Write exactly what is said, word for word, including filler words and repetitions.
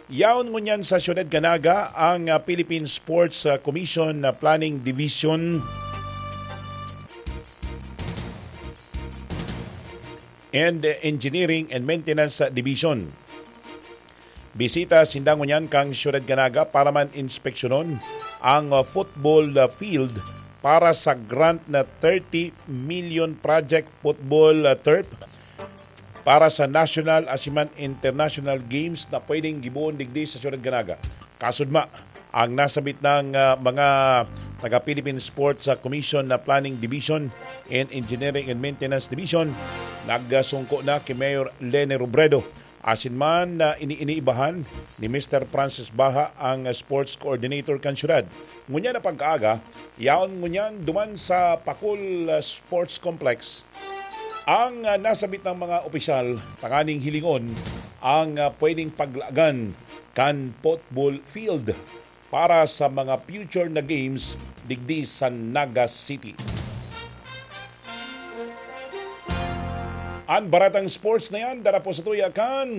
Yaon ngunyan sa Siyudad kan Naga ang, ah, Philippine Sports, ah, Commission na Planning Division and, ah, Engineering and Maintenance, ah, Division. Bisita sinda ngunyan kan Siyudad kan Naga para man inspeksyonon ang, ah, football, ah, field para sa grant na thirty million project football, ah, turf para sa national asin man international games na pwedeng gibohon digdi sa Siyudad kan Naga. Kasudma, ang nasabit ng, ah, mga taga Philippine Sports, ah, Commission na Planning Division and Engineering and Maintenance Division, nagsungko na ki Mayor Leni Robredo. Asin man na ini-, iniibahan ni Mister Francis Baha ang sports coordinator kan syudad. Ngunyan na pagkaaga, yaon ngunyan duman sa Pakul, ah, Sports Complex ang, ah, nasabit ng mga opisyal tanganing hilingon ang, ah, pwedeng paglagan kan football field para sa mga future na games digdi sa Naga City. An baratang sports na yan, dara po sa tuya kan